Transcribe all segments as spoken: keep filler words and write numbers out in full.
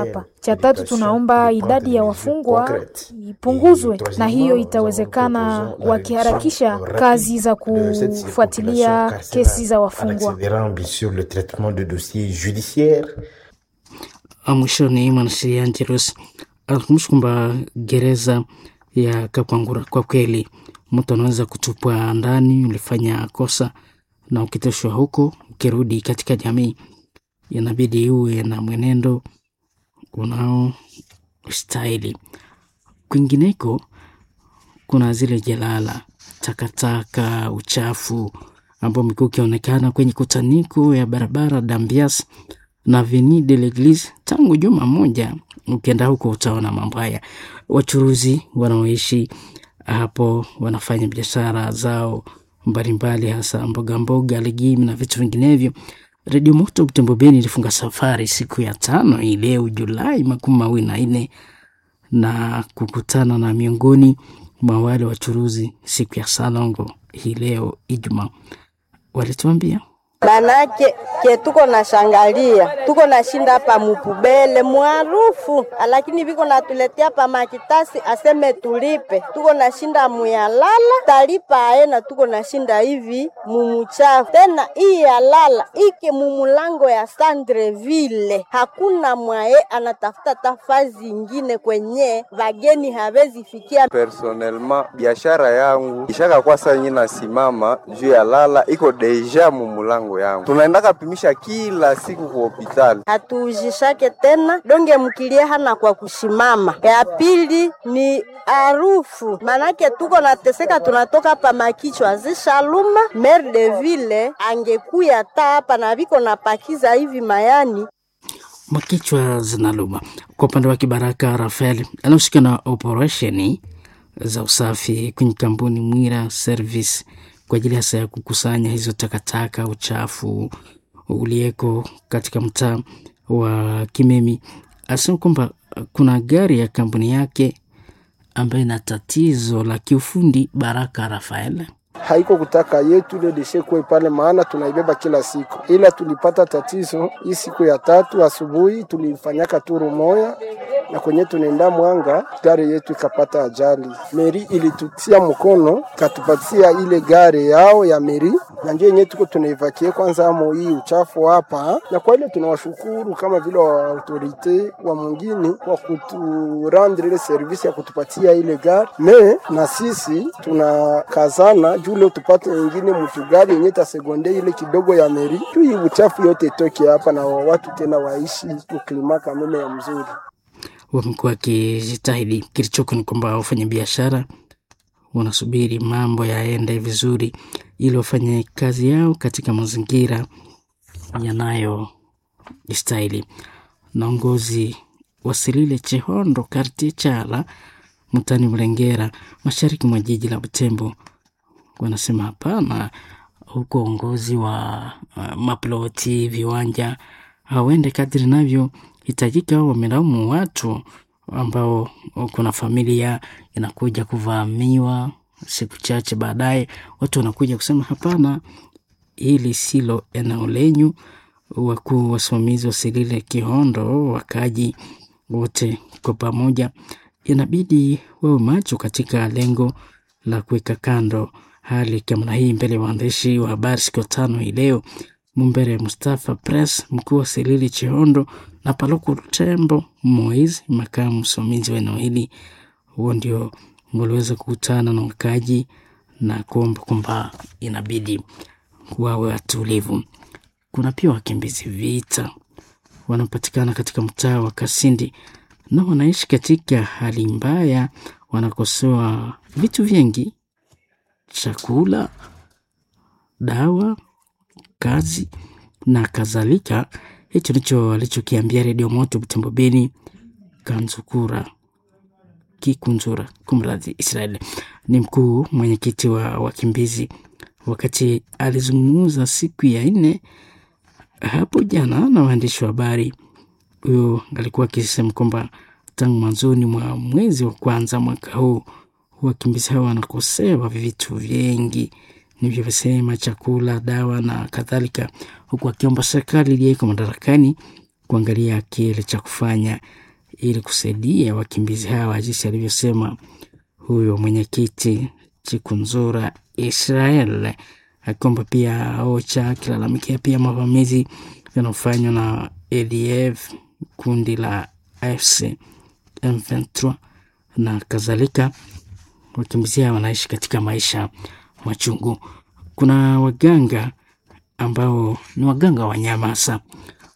hapa. Cha tatu, tunaomba idadi ya wafungwa ipunguzwe, na hiyo itawezekana wakiharakisha kazi za kufuatilia kesi za wafungwa. Mwishoni, mwanasheria Angelus alikumbusha kwamba gereza ya Kakwangura kwa kweli mtu anaweza kutupwa ndani, ulifanya kosa na ukitoshwa huko, ukirudi katika jamii inabidi uwe na mwenendo unaostahili. Kwingineko kuna zile jalala, takataka, uchafu ambao umekuwa ukionekana kwenye kutaniko ya barabara Dambias na Avenue de l'Eglise tangu juma moja. Ukienda huko utaona mambo haya. Wachuruzi wanaoishi hapo wanafanya biashara zao mbalimbali, hasa mboga mboga, legimi na vitu vinginevyo. Redio Moto Butembo Beni ilifunga safari siku ya tano hii leo Julai makumi mawili na nne na kukutana na miongoni mwa wale wachuruzi siku ya Salongo hii leo Ijumaa, walituambia Manake ke tuko na shangalia tuko na shinda hapa mupubele mwarufu, lakini viko natuletea pa makitasi aseme tulipe. Tuko na shinda muyalala talipa aena, tuko na shinda hivi mumuchafu tena. Hii yalala ike mumulango ya Sandreville, hakuna mwaye anatafuta tafazi ingine kwenye vageni hawezi fikia. Personnellement biashara yangu ishaka kwa saa nyina simama juu ya lala iko deja mumulango yangu tunaendaka pimisha kila siku ku hospitali, hatuujishake tena donge mkilie hana kwa kushimama. Ya pili ni harufu, manake tuko nateseka, tunatoka pa makichwa zishaluma. Maire de ville angekuya ta hapa na viko napakiza hivi mayani makichwa zinaluma. Kwa upande wake Baraka Rafael anahusika na operesheni za usafi kwenye kampuni Mwira Service kwa ajili hasa ya kukusanya hizo takataka, uchafu uliyeko katika mtaa wa Kimemi. Asema kwamba kuna gari ya kampuni yake ambayo ina tatizo la kiufundi. Baraka Rafael: haiko kutaka yetu ile deshe kuwe pale, maana tunaibeba kila siku, ila tulipata tatizo hii siku ya tatu asubuhi, tulifanyaka turu moya na kwenye tunaenda Mwanga, gari yetu ikapata ajali. Meri ilitutia mkono katupatia ile gari yao ya meri, na ndio yenyewe tuko tunaivakie kwanza amo hii uchafu hapa, na kwa ile tunawashukuru kama vile wa autorite wa mwingine kwa kuturendre ile service ya kutupatia ile gari me, na sisi tunakazana juu leo tupate nyingine mtu gari yenye tasegonde ile kidogo ya meri, tu hii uchafu yote itoke hapa na watu tena waishi uklima kameme ya mzuri. Wamekuwa wakijitahidi. Kilichoko ni kwamba wafanyabiashara wanasubiri mambo yaende vizuri ili wafanye kazi yao katika mazingira yanayostahili. Na uongozi wa Silile Chehondo Kartie Chala mtani Mlengera mashariki mwa jiji la Butembo wanasema hapana, huko uongozi wa uh, maploti viwanja hawende kadri navyo hitajika. Wamelaumu watu ambao kuna familia inakuja kuvamiwa siku chache baadaye, watu wanakuja kusema hapana, hili silo eneo lenyu. Wakuu wasimamizi wa Silile Kihondo, wakaji wote kwa pamoja, inabidi wawe macho katika lengo la kuweka kando hali kama hii. Mbele ya waandishi wa habari siku ya tano hii leo, Mumbere Mustafa Press, mkuu wa Silili Chihondo, na Paluku Tembo Moiz, makamu msimamizi wa eneo hili, huo ndio waliweza kukutana na wakaji na kuomba kwamba inabidi wawe watulivu. Kuna pia wakimbizi vita wanapatikana katika mtaa wa Kasindi na wanaishi katika hali mbaya, wanakosewa vitu vingi, chakula, dawa, kazi na kadhalika. Hicho ndicho alichokiambia Redio Moto Butembo Beni Kanzukura Kikunzura, kumradhi, Israel ni mkuu mwenyekiti wa wakimbizi, wakati alizungumza siku ya nne hapo jana na waandishi wa habari. Huyo alikuwa akisema kwamba tangu mwanzoni mwa mwezi wa kwanza mwaka huu wakimbizi hao wanakosewa vitu vingi nilivyosema, chakula, dawa na kadhalika, huku akiomba serikali iliyoko madarakani kuangalia kile cha kufanya ili kusaidia wakimbizi hawa, jinsi alivyosema huyo mwenyekiti Chikunzura Israel, akiomba pia OCHA akilalamikia pia mavamizi yanayofanywa na A D F, kundi la A F C M ishirini na tatu na kadhalika. Wakimbizi hawa wanaishi katika maisha machungu. Kuna waganga ambao ni waganga wa wanyama hasa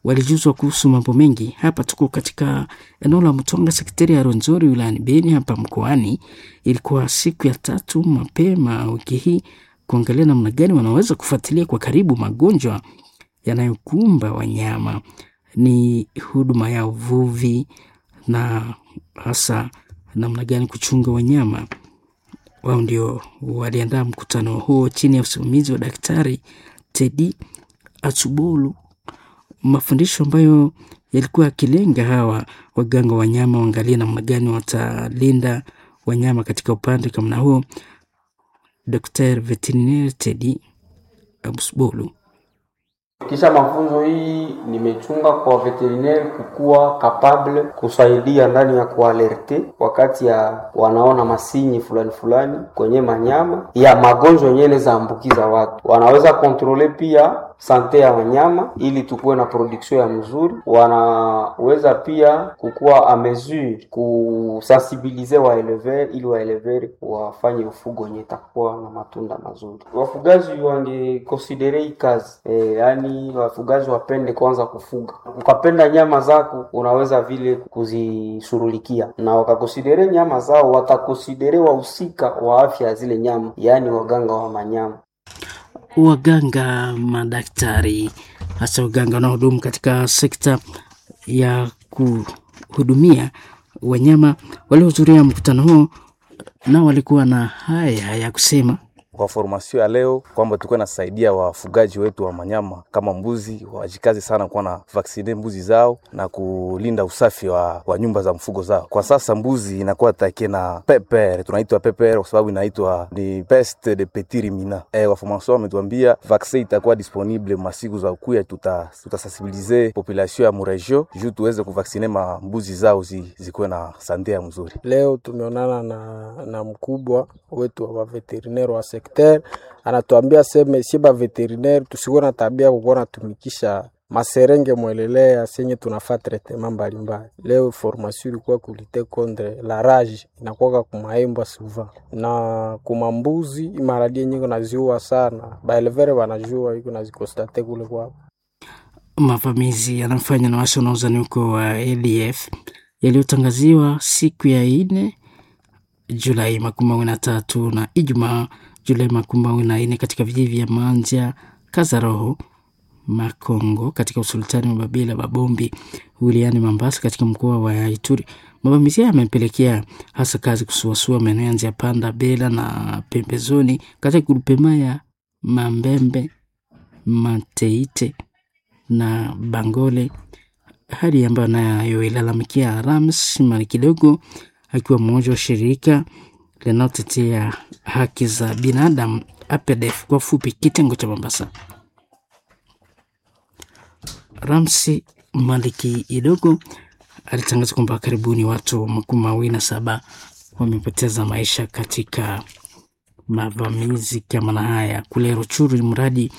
walijuzwa kuhusu mambo mengi. Hapa tuko katika eneo la Mtonga, sekretari ya Rwenzori wilayani Beni hapa mkoani. Ilikuwa siku ya tatu mapema wiki hii kuangalia namna gani wanaweza kufuatilia kwa karibu magonjwa yanayokumba wanyama. Ni huduma ya uvuvi na hasa namna gani kuchunga wanyama. Wao ndio waliandaa mkutano huo chini ya usimamizi wa Daktari Tedi Atsubolu, mafundisho ambayo yalikuwa yakilenga hawa waganga wa wanyama waangalie namna gani watalinda wanyama katika upande kama huo. Daktari Veterinaire Tedi Atsubolu: Kisha mafunzo hii nimechunga kwa veterinaire kukuwa capable kusaidia ndani ya kualerte wakati ya wanaona masinyi fulani fulani kwenye manyama ya magonjwa yenyewe inaweza ambukiza watu. Wanaweza kontrole pia sante ya wanyama ili tukuwe na production ya mzuri. Wanaweza pia kukuwa a mesure kusensibilize waelever ili waelever wafanye ufugo wenye itakuwa na matunda mazuri. Wafugaji wangekonsidere hii kazi e, yani wafugaji wapende kwanza kufuga. Ukapenda nyama zako unaweza vile kuzishughulikia, na wakakonsidere nyama zao, watakonsidere wahusika wa afya ya zile nyama, yaani waganga wa manyama. Waganga, madaktari, hasa waganga wanaohudumu katika sekta ya kuhudumia wanyama waliohudhuria mkutano huo, nao walikuwa na haya ya kusema. Kwa formasio ya leo kwamba tulikuwa nasaidia wafugaji wetu wa manyama kama mbuzi wajikaze sana kuwa na vaksine mbuzi zao na kulinda usafi wa, wa nyumba za mfugo zao. Kwa sasa mbuzi inakuwa take na peper, tunaitwa peper kwa sababu inaitwa ni peste de petit ruminant. Eh, wa formasio wametuambia vaccin itakuwa disponible masiku za kuya, tuta tutasensibiliser population ya muregio juu tuweze kuvaksine ma mbuzi zao zi, zikuwe na sante ya mzuri. Leo tumeonana na, na mkubwa wetu wa veterinaire wa sekta, anatuambia seme sie ba veterinaire tusikuwe na tabia kukuwa natumikisha maserenge mwelelea senye tunafaa traitement mbalimbali. Leo formation ilikuwa kulite contre la rage inakuwaka kumaembwa souvent na kumambuzi imaradi yenye naziua sana, baelevere wanajua iko nazikostate kule kwao. Mavamizi yanayofanywa na waasi wanaozani huko wa A D F yaliyotangaziwa siku ya ine Julai makumi mawili na tatu na Ijumaa Julai makumi mawili na nne katika vijiji vya Manja, Kazaroho, Makongo katika usultani wa Babila Babombi wilayani Mambasa katika mkoa wa Ituri. Mavamizi haya yamepelekea hasa kazi kusuasua maeneo ya Nzia Panda, Bela na pembezoni katika grupema ya Mambembe, Mateite na Bangole, hali ambayo nayo ilalamikia Rams Mali kidogo akiwa mmoja wa shirika linalotetea haki za binadamu A P D F kwa fupi, kitengo cha Mombasa. Ramsi Maliki Idogo alitangaza kwamba karibuni watu makumi mawili na saba wamepoteza maisha katika mavamizi kama na haya kule Ruchuru. Mradi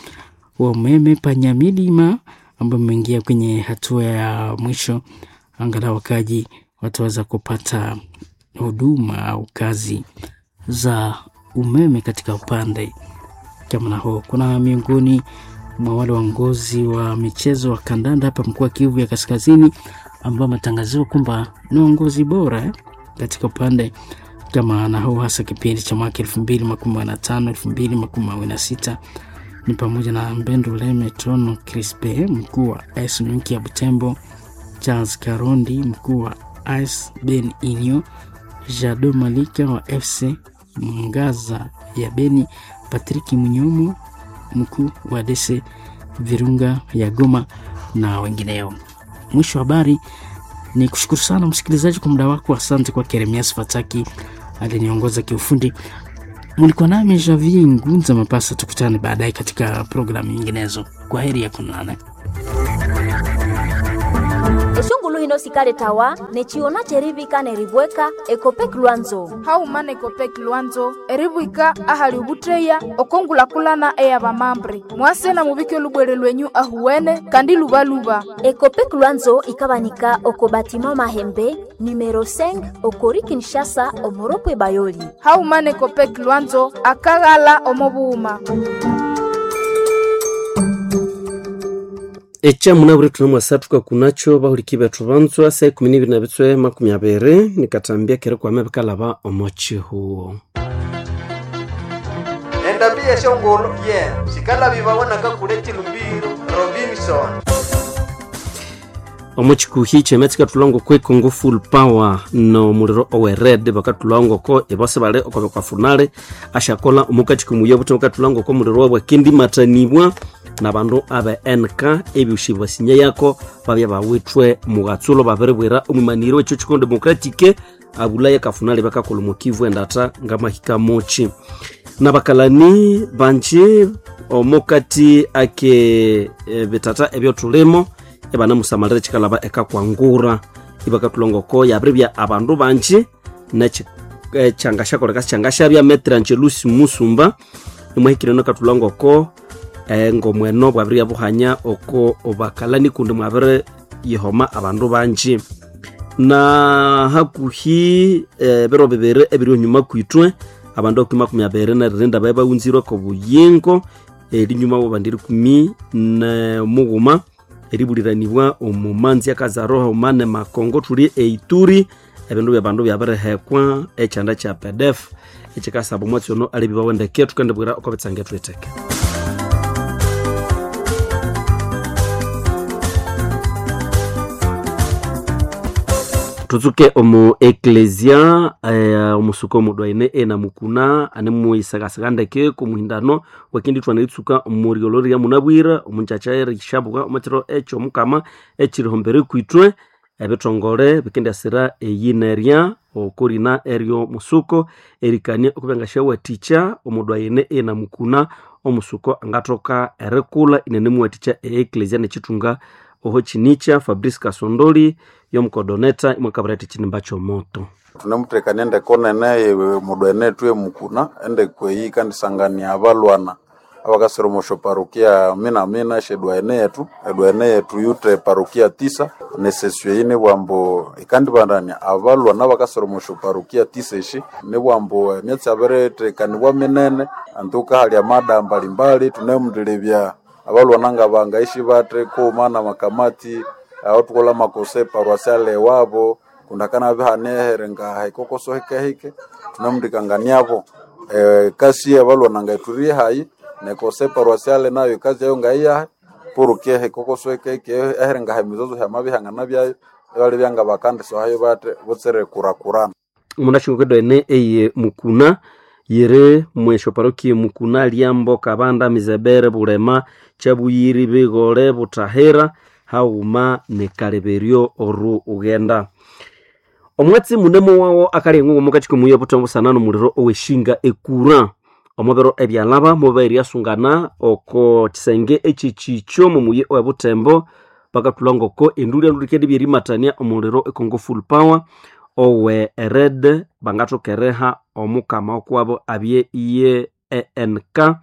wa umeme Panyamilima ambao umeingia kwenye hatua ya mwisho, angalau wakaji wataweza kupata huduma au kazi za umeme katika upande kama na huo. Kuna miongoni mwa wale waongozi wa michezo wa kandanda hapa mkoa wa Kivu ya Kaskazini ambao wametangaziwa kwamba ni waongozi bora eh, katika upande kama na huo, hasa kipindi cha mwaka elfu mbili makumi na tano elfu mbili makumi na sita ni pamoja na Mbendo Leme Tono Crispe, mkuu wa A S Nyuki ya Butembo, Charles Karondi, mkuu wa A S Ben Inyo, Jado Malika wa F C Mwangaza ya Beni, Patrick Munyomo, mkuu wa D C Virunga ya Goma na wengineo. Mwisho wa habari ni kushukuru sana msikilizaji kwa muda wako. Asante kwa Keremias Fataki aliniongoza kiufundi. Mlikuwa nami Javier Ngunza Mapasa, tukutane baadaye katika programu nyinginezo. Kwa heri ya kuonana. Eshongulu hino sikaletawa nechiona cherivika neribweka Ekopek Lwanzo. Hauma na Ekopek Lwanzo eribwika ahali ubutreya okongulakulana eyabamambre mwase na mubike lubwere lwenyu ahuwene kandi lubaluba. Ekopek Lwanzo ikabanika oko batima Mahembe numero cinq okori Kinshasa omoropwe Bayoli. Hauma na Ekopek Lwanzo akaghala omobuhuma. Ekyamuna buri thuna mwasathuka kunacho bahuliki bethu banzwa saa ikumi nibiri na bitswe makumi abiri nikatambya keri kwame bikalaba omo chihuo. Endambi yeshongolo ye sikalabibawanaka kule chilumbiro Robinson. Omo chikuhi chemetsi katulongo kwe Congo Full Power no muliro owe red bakatulongo ko ebose bale okobe kwa funale ashakola omukati kumuyo buto katulongo ko muliro wabwe kendi matanibwa na bandu abe N K ebyushi basinya yako babya bawitwe mugatsulo babirebwera omumaniro echo chikondo democratique abulaya kafunale bakakola mukivu endata ngamahika mochi na bakalani banji omukati ake e, bitata ebyotulimo ebana musamalira chikalaba ekakwangura ibakatulongoko yabiribya abandu banji nechangashakoleka changashabya Metrangelus Musumba imwahikire nokatulongoko e, ngomweno bwabirya buhanya oko obakalani kundi mwabire yihoma abandu banji na hakuhi e, biro bibiri ebiri onyuma kwitwe abandu okumi makumi abiri neririnda bae baunzirwe ko buyingo erinyuma bobandiri kumi ne mughuma eribuliranibwa omumanzi akazaroha omane makongo tuli eituri ebindu byabandu byabirihekwa ekyanda kya P D F ekikasaba omwatsi ono alibibawe tukendibwira oko bitsange twiteke. Tutsuke omu eklesia eh, omusuko omudwaine ena mukuna ane muisakasaka ndeke kumuhindano wakindi twana itsuka omuriolori ya munabwira omunchacha erishabuka omukiro ekyo omukama ekirihombere kwitwe ebitongole bikendasira eyinerya okorina eryo musuko erikania okubengashawathikya omudwaine ena mukuna omusuko angathoka erikula inene muwathikya e eklesia nekitunga oho chinicha Fabrice Kasondoli yomukodoneta imwakabira chinimba chomoto. Tunemutekania endekonene mudwene twe mukuna endekweyi kandisangania abalwana abakasira omosho parokia mina mina shedwaene yetu edwaene yetu yute parokia tisa nesesio eyi nibwambo ikandibandania abalwana abakasira omosho parokia tisa eshi nibwambo emyatsi abiretekanibwa minene antuka hali amada mbalimbali tunemundilebya abalwana nga bangaishi bate kuma na makamati aho tukola makose paroisiale wabo kundakana bihanehere nga hikokoso hikehike tunemundikanganiabo e, kasi abalwana nga iturie hayi nekose paroisiale nayo kazi yayo ngaiyahe purukie hikokoso hikehike ehere nga hemizozo hyamabihangana byayo ebali byanga bakandisohayo bate butsere kurakurana. Munashingokedwene eye mukuna yere mwesho parokie mukuna liambo kabanda mizebere bulema chabuyiri bigole butahera hauma nekaleberyo oru ugenda omwatsi munemo wawo akali eng'ongo mukati kumuya butambo sana nomuliro oweshinga ekura omubiro ebyalaba mubairi asungana oko kisenge echichicho mumuye owebutembo bakatulongoko enduli enduli byerimatania omuliro ekongo Full Power owe red bangathokereha omukama okwabo abye iye E N K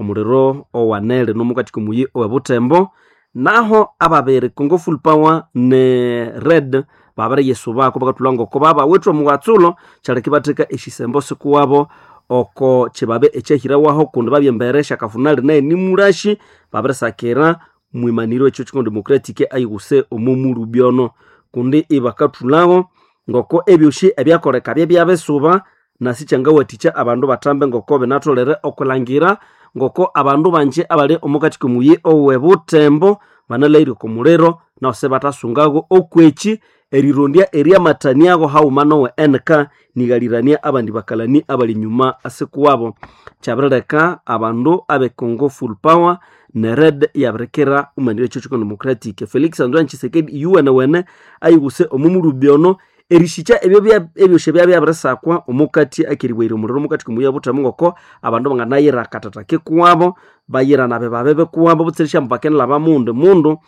omuliro owanele nomukati kumuyi owebutembo naho ababiri Congo Full Power ne red babiri yesu bako bakatulongoko babawithe omughatsulo kyaleka ibatheka eshisembo sikuwabo oko kibabe ekyahirawaho kundi babyembere shakafunali naye nimulashi babirisakira mwimaniro ekyo kikondo democratic ayighuse omomulubyono kundi ibakathulaho ngoko ebyoshi ebyakoleka byebyabisuba nasi kyangawathikya abandu bathambe ngoko binatholere okulangira ngoko abandu banji abali omukati komuyi owebutembo banalhaire okumuliro naho sebatasungago okweki erirondya eryamataniago haghuma nowe N K nighalirania abandi bakalani abali nyuma asikuwabo. Kyabirileka abandu abe Congo Full Power ne red yabirikira omanire ekyo kiko democratic Felix Antoine Tshisekedi yuwenewene ayighuse omumulubyono erishikya ebyo ebyoshe byabyabirisakwa omukati akeribwaire omuliro omukati kumuya buthemu ngoko abandu banganayira akatata kikuwabo bayira nabe babebe kuwabo butsirisha mbakenela bamundu mundu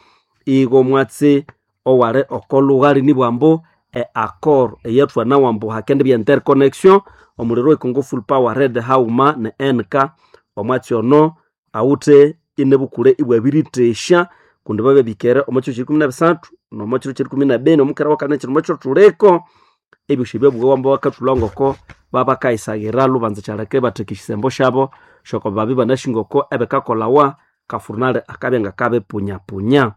igo mwatsi owali okolughali nibwambu e accord eyathwana wambu hakendi bya interconnection omuliro we Congo Full Power Red hauma ne N K omwatsi ono awuthe inebukule ibwabiritesha kundi bababikere omo kiro kyerikumi na bisathu nomo kiro kyerikumi na bini omukera wakane kiro mokiro thuliko ebyosi byabugha wamba bakathulha ngoko babakayisaghira lubanza kyaleka ibatheka ekisembo syabo syoko babi banasi ngoko ebikakolawa kafurnale akabya ngakabipunyapunya.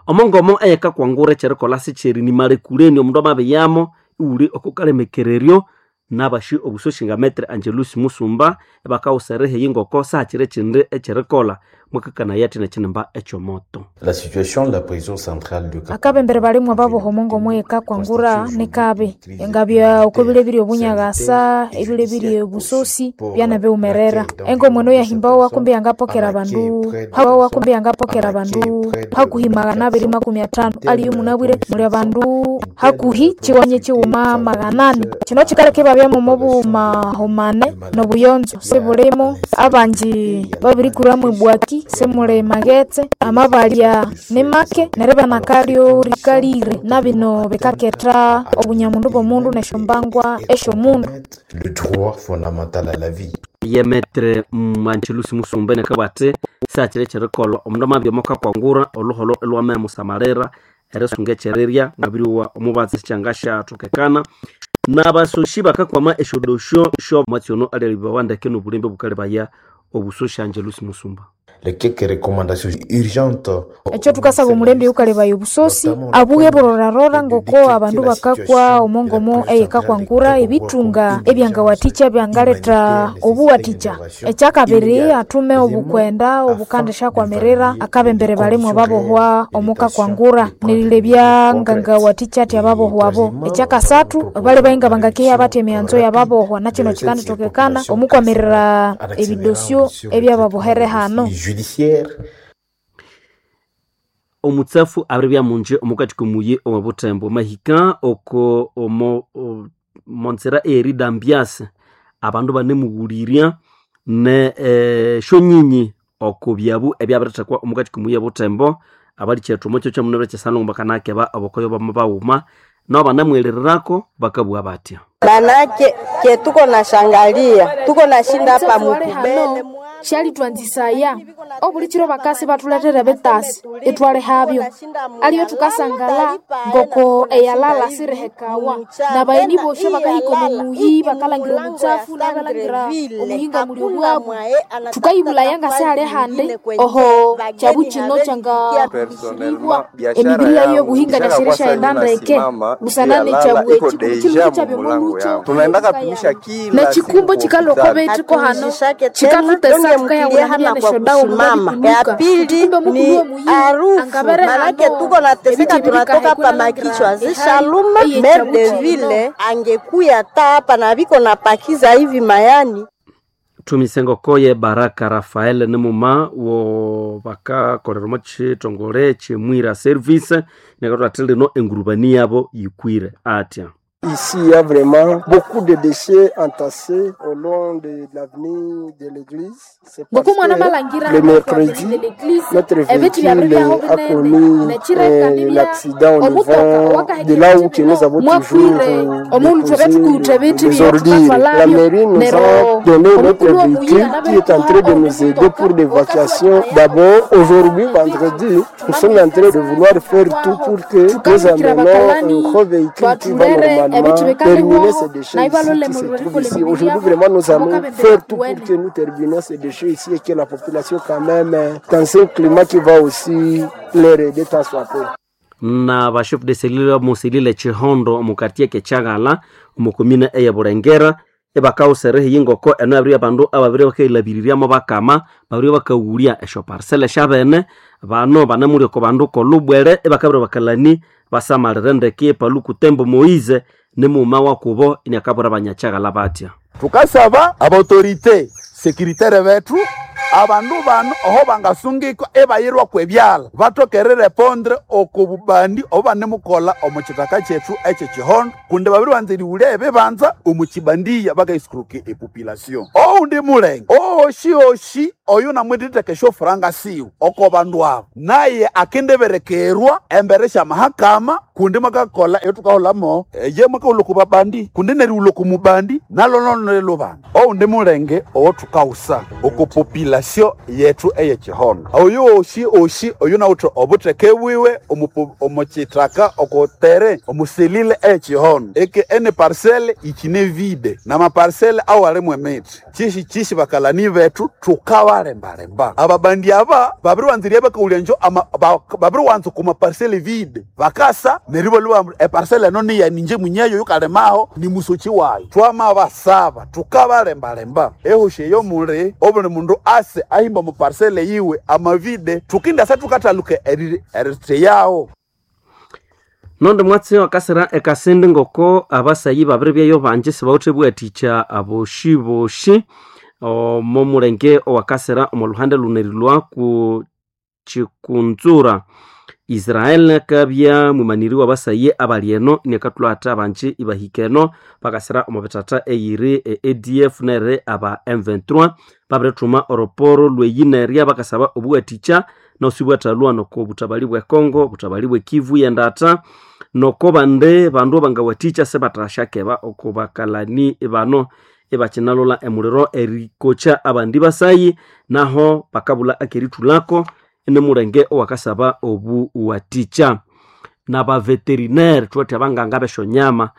Omongomo eyakakwangura ekyerikolha sikyerinimalhekuleni omundu amabiyamo iwuli okukalemekereryo nabashi obusoshi nga Metre Angelus Musumba ebakawusera eheyi ngoko sahakiri ekindi ekyerikolha mwakakanaya athi nekinimba ekyomoto. La situation de la prison centrale de Akabembere balimwa baboha omongomo eyakakwangura nikabi engabya oko bilebiri obunyagasa ebilebiri obusosi byanabiwumerera engomo eno yahimbawa kumbi yangapokera abandu hawa kumbi yangapokera abandu hakuhi magana abiri makumi athanu aliyo munabwire muli abandu hakuhi chiwanye chiwuma magana ani. Kino kikaleka ibabyamu obumahumane nobuyonzo sibulimo abanji babirikuramu ebwaki simuli maghetse amabalya nimake neryo ibanakalyo rikalire nabino bikaketha obunyamundu bw'omundu nesyombangwa esyomundu. Le droit fondamental à la vie. Ye Metre Angelus Musumba nekabwa athi sihakiri ekyerikolha omundu amabya mwakakwangura olhuholho ilhwamayamusamalira erisunga ekyerirya ngabiryowa omubatsi sikyangasyathokekana nabasoshi bakakwama esyodosyo syomwatsi ono alyalhibawa ndeke nobulembe obukalebaya obusoshi Angelus Musumba. Les quelques recommandations urgentes Ekyo thukasaba omulembe yukalebaya obusosi abuhe burorarora ngoko abandu bakakwa omongomo eyikakwangura ebithunga ebyangawathikya byangaletha obuwathikya. Ekyakabiri athume obukwenda obukandishyakwamirira akabembere balimwa babohwa omukakwangura nerilebya ngangawathikya athi ababohwabo. Ekyakasathu bali nga bangakehya bathi emighanzo yababohwa nakino kikandithokekana omukwamirira ebidosyo ebyababohere hano. Judiciaire. Omutsafu abiribya munji omukati komuyi omu Butembo mahika oko omo monzera eridambiase abandu banemughulirya ne eh, shonyinyi oko byabu ebyabirithekwa omukati komuyi Butembo abalikyethu omukyo kyamunabire kyesanongo bakanakeba obokoyo bama bawuma nabo banamwirirako bakabugha batya. Manake ke tuko na shangalia tuko na shinda hapa mupubele Syalitwanzisaya obuli kiro bakasi bathulethere ebitasi ithwalihabyo aliyo thukasangala ngoko eyalala sirihekawa nabayeni bosyo bakahika omu muyi bakalangira omutsafu nabalangira omuhinga muli obwabu thukayibulaya ngasihali handi oho kyabu kino kyangabiribwa emibiri yayo yobuhinga nasyerisyaghenda ndeke busana nekyabu eki kundi kiruku kyabya tunaendaka pimisha kila nekikumbo kikalhwa oko hano kikathutesa hana kwa kusimama. Ya pili ni harufu, manake tuko nateseka, tunatoka pa makichwa zishaluma. Maire de ville angekuya ta hapa na biko napakiza hivi mayani tumisengokoye Baraka Rafael nimuma wo bakakolera omo kithongole kyemwira service nekathu athi lino engurubani yabo yikwire atya. Ici, il y a vraiment beaucoup de déchets entassés au long de l'avenue de l'église. C'est parce que le mercredi, notre véhicule a connu euh, l'accident au niveau de là où que nous avons toujours euh, déposé les ordures. La mairie nous a donné notre véhicule qui est en train de nous aider pour l'évacuation. D'abord, aujourd'hui, vendredi, nous sommes en train de vouloir faire tout pour que nous amenons un gros véhicule qui va normalement terminer ces déchets ici qui se trouvent ici. Aujourd'hui, vraiment, nous allons faire tout pour que nous terminions ces déchets ici et que la population, quand même, dans un climat qui va aussi leur aider tant soit peu. Na bashefu de selile musilile chihondo mukatie kechagala omukomine eye Burengera ebakawuserehe yingoko eno abiri abandu ababiri bakailabiriryamu bakama babiri bakaghulya esyo parcel syabene bano banamuli oko bandu kolubwere ebakabiri bakalani basamalire ndeke Paluku Tembo Moize nimuuma wakubo iniakabura banyachagala batya. Tukasaba abautorite sekiritaire bethu abandu bano oho bangasungikwa ebayirwa kwebyala batokere repondre oko bubandi obo banemukola omu kitaka kyethu ekyekihondo kundi babiri banza erighulya ebibanza omu kibandiya bakaisikuruka epopulation oundi mulenge Oyo oshi oshi oyo namwititheka esyofuranga siwe oko bandu abo naye akendiberekerwa embere syamahakama kundi mwakakola eyotukaholamo ye mwakahulha oku babandi kundi nerighulha oku mubandi nalo lubanda oundi mulenge owothukawusa oku population yethu eyekihondo oyo oshi oshi oyo nawuthe obutheke bwiwe omu- omukyithaka okutere omuselile eyekihondo eke ene parcele ikine vide namaparcele awalimu emithi kyishi kyishi bakalani bethu tukabalembalemba ababandi aba babiriwanzirya bakawulya njo ama- ba- babiriwanza okuma parcele vide bakasa neryo ibalwa eparcele eno niyaninje munyeyo yukalimaho ni musoki wayo twamabasaba tukabalembalemba ehoshi eyo muli obuli mundu ase ahimba mu parcele yiwe amavide tukindasa tukathaluka eri- eritheyawo Nondi mwatsi wakasira ekasindi ngoko abasayi babiri byayo banji sibawuthe bwathikya aboshi boshi omo mulenge owakasira omo luhande lunerilwa ku chikunzura Israel akabya mwimaniri w'abasayi abali eno inakathulha athi abanji ibahika eno bakasira omo bithatha eyiri e A D F nere aba M twenty-three babirithuma oroporo lweyinerya bakasaba obuwathikya nosi bwathalhwa noko obutabali bwe Congo obutabali bwe Kivu yendatha noko bande bandu abangawathikya sibathasyakeba oko bakalani bano ibakinalolha emuliro erikokya abandi basayi naho bakabulha akerithulhako inimulenge owakasaba obuwathikya nabaveterinary thuwathi abanganga b'esyonyama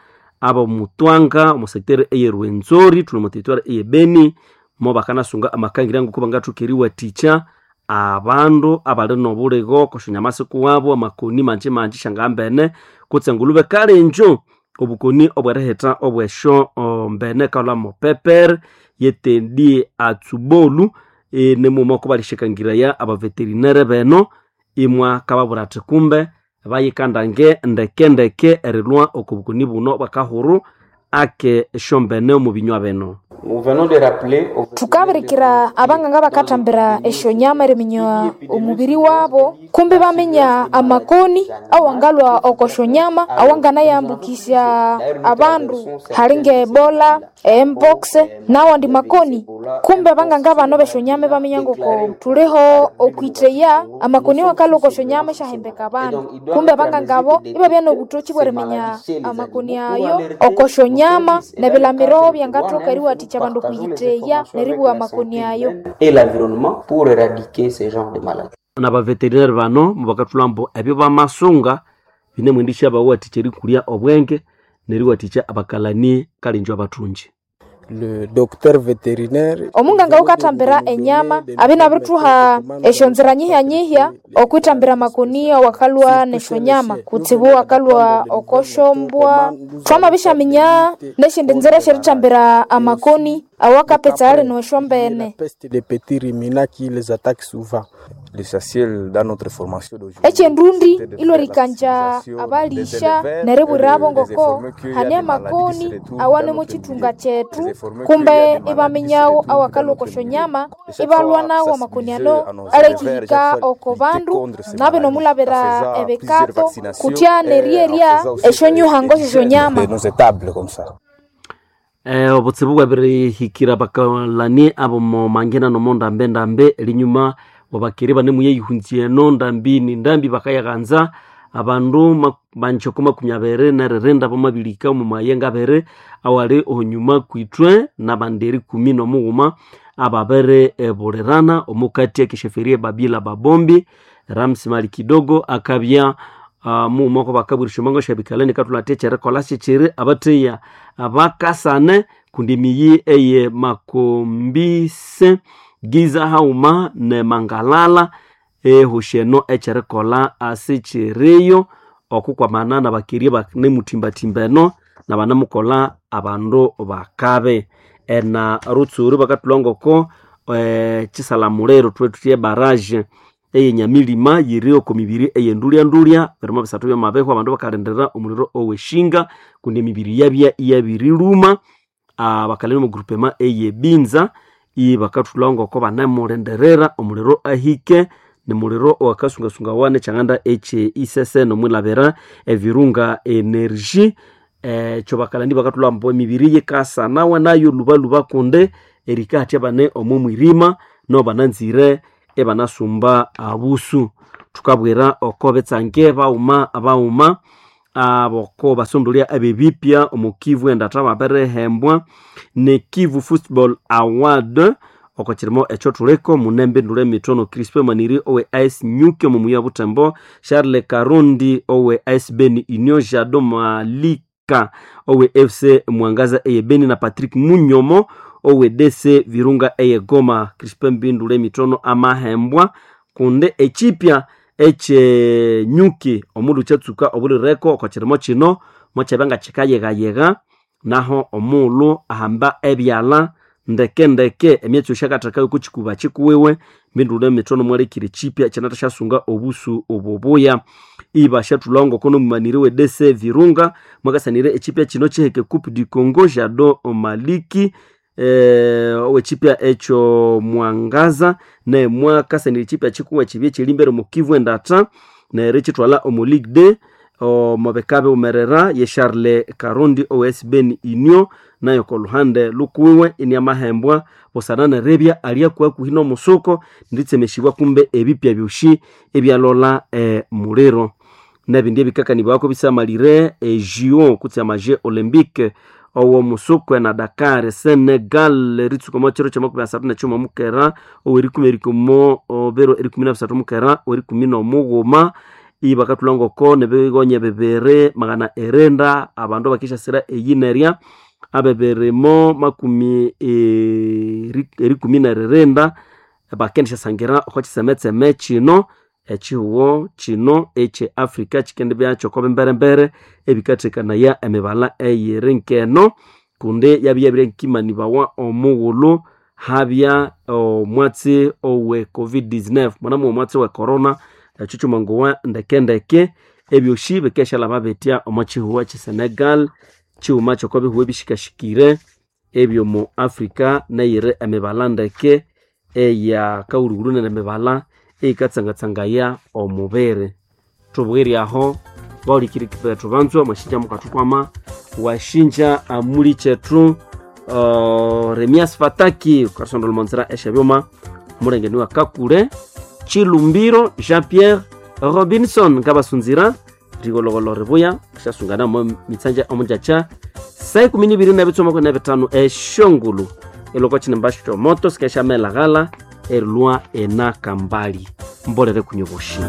ab'omutwanga omu sector eye Rwenzori thuli omu territoire eye Beni mo bakanasunga amakangira ngoko bangathoka eriwathikya abandu abali n'obuligo okw'esyonyama sikuwabo amakoni manji manji syangambene kutse engulube kalenjo obukoni obwerihitha obwesyo mbene kalhwa mo pepper yetendi atsubolu e, nimuma oko balishikangiraya abaveterinere beno imwa kababwira athi kumbe bayikandange ndeke ndeke erilhwa oko bukoni buno bwakahuru ake esyombene omu binywa bino. Nous venons de rappeler au Tukabirikira abanganga bakathambira esyonyama eriminya omubiri wabo kumbi baminya amakoni awangalwa oko syonyama awanganayambukisya abandu hali nge ebola, mpox nawandi makoni kumbi abanganga bano besyonyama ibaminya ngoko thuliho okwitheya amakoni awakalwa oko syonyama isyahembeka abandu kumbi abanganga abo ibabya nobuthoki bweriminya amakoni ayo oko syonyama nebilamiro byangathoka eriwathikya abandu okwiyitheya neribugha amakoni ayo et l'environnement pour éradiquer ce genre de maladies. Nabaveterinary bano mubakathulha ambu ebyo bamasunga binemwendisya bawathikya erikulya obwenge neriwathikya abakalani kalenjo abathungi. Le docteur vétérinaire omunganga wukathambira enyama abya inabirithugha esyonzira nyihya-nyihya okwithambira amakoni awakalhwa nesyonyama kutsibu akalhwa okosyombwa thwamabisyaminya nesyindi nzira esyerithambira amakoni awakapetsa ali nesyombene peste des petits ruminants qui les attaque souvent. L'essentiel dans notre formation d'aujourd'hui, ekyendundi ilwerikanja abalisha neribwirabo ngoko hane amakoni awane mukyithunga kyethu kumbe ibaminyagho awakalhwa oko syonyama ibalhwa nawo amakoni ano alekihika oko bandu nabyo nomulabira ebikato kutya neryerya esyonyuhango syesyonyama de nos étables comme ça. Eh, obutsibu bwabirihikira bakalani abomo mangina nomo ndambe ndambe elinyuma wabakiri banemuyeyihunzya eno ndambi ni ndambi bakayaghanza abandu ma- banjoko makumi abiri neririnda bamabilika omu mayenga abiri awali onyuma kwithwe nabandi erikumi nomughuma ababiri ebulirana omukati ekisheferi ebabila babombi Ramsi Mali kidogo akabya uh, mughuma oko bakabwirisya omango syabikalani kathulha athi ekyerikolha sikyiri abatheya abakasane kundi emiyi eye makombise giza haghuma ne mangalala ehosi eno ekyerikolha asikyiriyo okukwamana nabakiri banemuthimbathimba eno nabanamukolha abandu bakabe ena rutsuru bakathulha ngoko eh, kisalamuliro thwe thuthi ebaraje eyenyamilima yiri oko mibiri eyendulya-ndulya birimo bisathu byamabehwa abandu bakalindirira omuliro oweshinga kundi emibiri yabya iyabiriluma ah, bakalina omu groupement eyebinza ibakathulha ngoko banemulindirira omuliro ahike nimuliro owakasungasungawa nekyanganda ekye isese nomwilabira evirunga energy ekyo bakalani bakathulha ambu emibiri yikasanawa nayo lubaluba kundi erikahatya bane omo mwirima no bananzire ebanasumba abusu. Tukabwira oko betsange bauma bauma aboko basondolya abebipya omu Kivu endatha baberehembwa ne Kivu Football Award oko kirimo ekyo thuliko munembe ndule mitono Crispin Maniri owe A S Nyuki omu muya Butembo, Charles Karundi owe A S Beni Union, Jado Malika owe F C Mwangaza eye Beni na Patrick Munyomo owe D C Virunga eye Goma. Crispin Mbindule mitono amahembwa kunde echipya eche nyuki omundu kyatsuka obulireko oko kirimo kino mokyabya kikayegayega naho omuulu ahamba ebyala ndeke ndeke emyatsi yosyakatheka yoko kikuba kikuwiwe. Mbindule mitono mwalekire chipya kyanatha obusu obubuya iba syathulhawo ngoko nomumaniri we D C Virunga mwakasanire echipya kino kiheke Coupe du Congo. Jado Maliki eh, owechipya ekyo Mwangaza naye mwakasanire echipya kikuwa kibye kyerimbere omu Kivu endatha neryo ekithwalha omu Ligue D omubika biwumerera ye Charles Karundi owe S Beni Union nayo koluhande lukuwiwe iniamahembwa busana nerebya alyakuhakuhi n'omusuko nditsemeshibwa kumbe ebipya byoshi ebyalola eh, muliro nebindi ebikakanibwako bisamalire ejio kutse amaje olympique owo musukwe na Dakar Senegal ritsuka mo chiro cha makumi asathu nekyuma mukera owerikumi erikumo obero erikumi na bisathu mukera owerikumi n'omughuma ibakathulha ngoko nebigonya bibiri magana erenda abandu bakishasira eyinerya abebirimo makumi eri- erikumi neririnda bakendishasangira oko kisemetseme kino ekihugo kino ekye Africa kikendibya kyoko bimberembere ebikathekanaya emibala eyiri nkeno kundi yabya nkimanibawa omughulhu habya omwatsi owe covid nineteen mwanamu omwatsi we corona ekyo kyumangowa ndekendeke ebyoshi bikeshalaba bitya omo kihugo ekye Senegal kighuma kyoko bihugo ebishikashikire ebyomu Africa neyiri emibala ndeke eya kaghulhughulhu nende emibala eyikatsangatsangaya omubiri. Thubwire aho bawulikiriki bethu banzwa mwashinja mukathukwama washinja amuli kyethu uh, Remias Fataki ukasondola omonzira esyabyuma mulengeni wa Kakule Chilumbiro Jean Pierre Robinson ngabasunzira rigologolo ribuya syasungana mo mitsanja omunjacha saa ikumi nibiri nebitsumako nebitano eshongulu eloko chinemba moto sikeshamelaghala erilwa enakambali mbolere kunyoboshi.